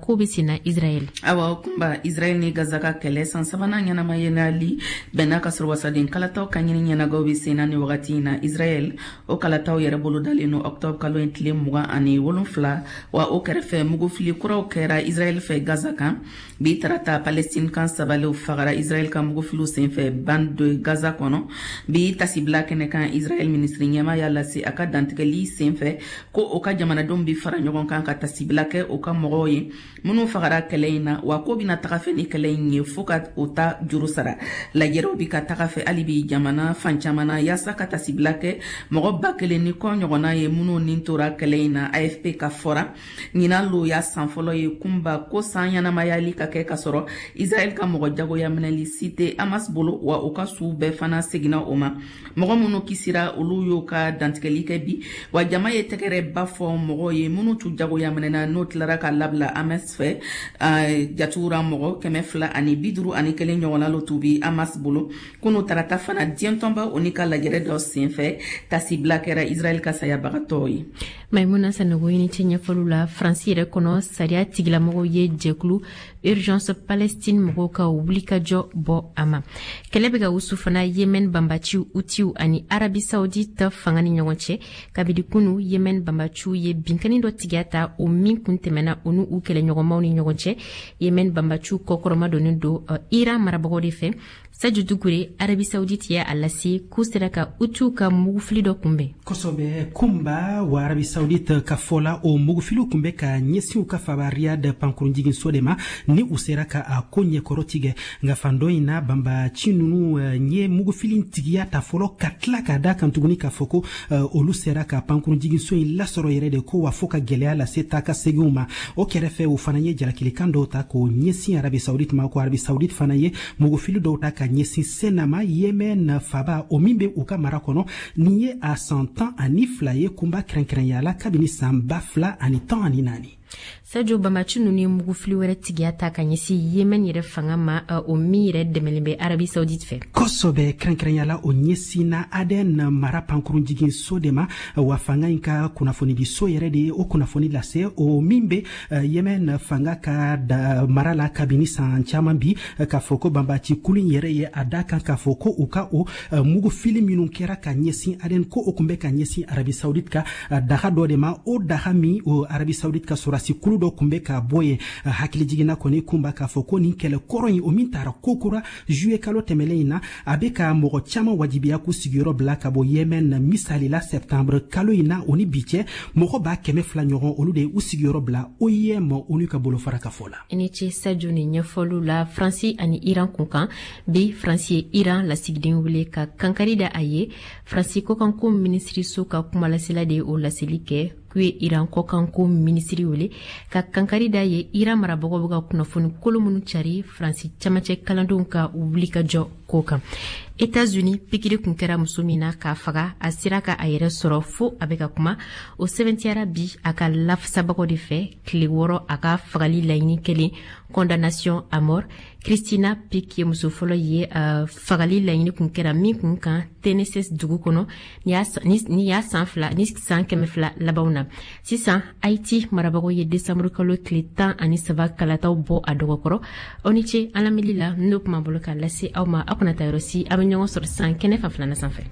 Ko bɛ senna Israɛl. Awa Kunba, Israɛl ni Gaza ka kɛlɛ san sabanan ɲɛnamayali bɛnna ka sɔrɔ wasaden kalataw ka ɲini ɲɛnagaw bɛ senna ni wagati in na Israɛl. O kalataw yɛrɛ bolodalen no octobre kalo in tile 27. Wa o kɛrɛfɛ, mugufili kuraw kɛra Israɛl fɛ Gaza kan bi tarata. Palestine kan sabaliw fagara Israɛl ka mugufiliw senfɛ Bande de Gaza kɔnɔ. Bi tasibila kɛnɛ kan, Israɛl minisiri ɲɛma y'a lase a ka dantigɛli senfɛ ko o ka jamanadenw bi fara ɲɔgɔn kan ka tasibila kɛ o ka mɔgɔw ye minnu fagara kɛlɛ in na, wa ko bɛna taga fɛ ni kɛlɛ in ye fɔɔ ka o ta juru sara. Lajɛrɛw bi ka taga fɛ hali bi jamana fan caman na yaasa ka tasibila kɛ mɔgɔ 1000 ni kɔ ɲɔgɔnna ye minnu nin tora kɛlɛ in na. AFP ka fɔra, ɲinan lo y'a san fɔlɔ ye Kunba ko san ɲɛnamayali ka kɛ ka sɔrɔ Israɛl ka mɔgɔ jagoya minɛli si tɛ Hamas bolo, wa u ka suw bɛɛ fana seginna o ma. Mɔgɔ minnu kisira, olu y'o ka dantigɛli kɛ bi, wa jama ye tɛgɛrɛba fɔ mɔgɔw ye minnu tun jagoya minɛna n'o tilara ka labila Hamas fɛ. Jatugura mɔgɔ 251 ɲɔgɔnna lo tun bi Hamas bolo kunu tarata fana. Diɲɛ tɔnba o ni ka lajɛrɛ dɔ senfɛ, tasibila kɛra Israɛl ka sayabagatɔw ye. Maimuna Sanogo, i ni ce ɲɛfɔliw la. Faransi yɛrɛ kɔnɔ, sariya tigilamɔgɔw ye jɛkulu Urgence Palestine mɔgɔw ka wulikajɔ bɔ a ma. Kɛlɛ bɛ ka wusu fana Yemen banbaciw Hutiw ani Arabi Saoudite fanga ni ɲɔgɔn cɛ. Kabini kunu, Yemen banbaciw ye binkanni dɔ tigiya ta, o min kun tɛmɛna u n'u kɛlɛɲɔgɔnmaw ni ɲɔgɔn cɛ. Yemen banbaciw kɔkɔrɔma donnen don Iran marabagaw de fɛ. Sadio Dukure, Arabi Saoudite ye a lase k'u sera ka Hutiw ka mugufili dɔ kunbɛn. Kosɔbɛ Kunba. Wa Arabi Saoudite ka fɔ la, o mugufiliw kun bɛ ka ɲɛsin u ka faba Riyad pankurunjiginso de ma ni u sera ka a ko ɲɛkɔrɔ tigɛ. Nka fan dɔ in na, banbaci ninnu ye mugufili tigiya ta fɔlɔ, ka tila k'a da kan tuguni k'a fɔ ko olu sera ka pankurunjiginso in lasɔrɔ yɛrɛ de ko, wa fo ka gwɛlɛya lase taa ka seginw ma. O kɛrɛfɛ, o fana ye jalakilikan dɔw ta k'o ɲɛsin Arabi Saoudite ma, ko Arabi Saoudite fana ye mugufili dɔw ta ka ɲɛsin Senama, Yemen faba, o min bɛ u ka mara kɔnɔ. Nin ye a san 12 ye Kunba, kɛrɛnkɛrɛnya la kabini san 2014. Sadio, bamaci ninnu ye mugufili wɛrɛ tigiya ta ka ɲɛsin Yemen yɛrɛ fanga ma, o min yɛrɛ dɛmɛlen bɛ Arabi Saoudite fɛ. Kosɔbɛ, kɛrɛnkɛrɛnya o ɲɛsinna Aden mara pankurunjiginso de ma. Wa fanga in ka kunnafonidiso yɛrɛ de ye o kunnafoni lase, o min bɛ Yemen fanga ka da mara la kabini san caman bi, k'a fɔ ko banbaci kulu in yɛrɛ ye a da kan k'a fɔ ko u ka o mugufili minnu kɛra ka ɲɛsin Aden, ko o kun bɛ ka ɲɛsin Arabi Saoudite ka daga dɔ de ma, o daga min o Arabi Saoudite ka sɔrɔdasi kulu dɔ kun bɛ ka bɔ yen. Hakili jiginna kɔni Kunba k'a fɔ ko nin kɛlɛ kɔrɔ in, o min taara kokura juillet kalo tɛmɛlen in na, a bɛ ka mɔgɔ caman wajibiya k'u sigiyɔrɔ bila ka bɔ Yemen. Misali la, septembre kalo in na o ni bi cɛ, mɔgɔ 200 ɲɔgɔn, olu de ye u sigiyɔrɔ bila OIM, ONU ka bolofara ka fɔ la. I ni ce Sadio ni ɲɛfɔliw la. Faransi ani Iran kun kan bi, Faransi ye Iran lasigiden wele ka kankari da a ye. Faransi kɔkanko minisiriso ka kumalasela de ye o laseli kɛ k'u ye Iran kɔkanko minisiri wele ka kankari da ye, Iran marabagaw bɛ ka kunnafoni kolo minnu cari Faransi camancɛ kalandenw ka wulikajɔ ko kan. États-Unis, pikiri kun kɛra muso min na k'a faga, a sera ka a yɛrɛ sɔrɔ fo a bɛ ka kuma. O sɛbɛntiyara bi a ka lafasabagaw de fɛ, tile 6 a ka fagali laɲini kelen, condamnation à mort. Christina Pick ye muso fɔlɔ ye fagali laɲini kun kɛra min kun kan Tennessee dugu kɔnɔ ni y'a san fila ni san 200 labanw na. Sisan, Haiti marabagaw ye desanburu kalo tile 13 kalataw bɔ a dɔgɔkɔrɔ. Aw ni ce an lamɛnli la. N'o kuma bolo k'a lase aw ma, aw kana taa yɔrɔ si, an bɛ ɲɔgɔn sɔrɔ sisan kɛnɛ fan filanan sanfɛ.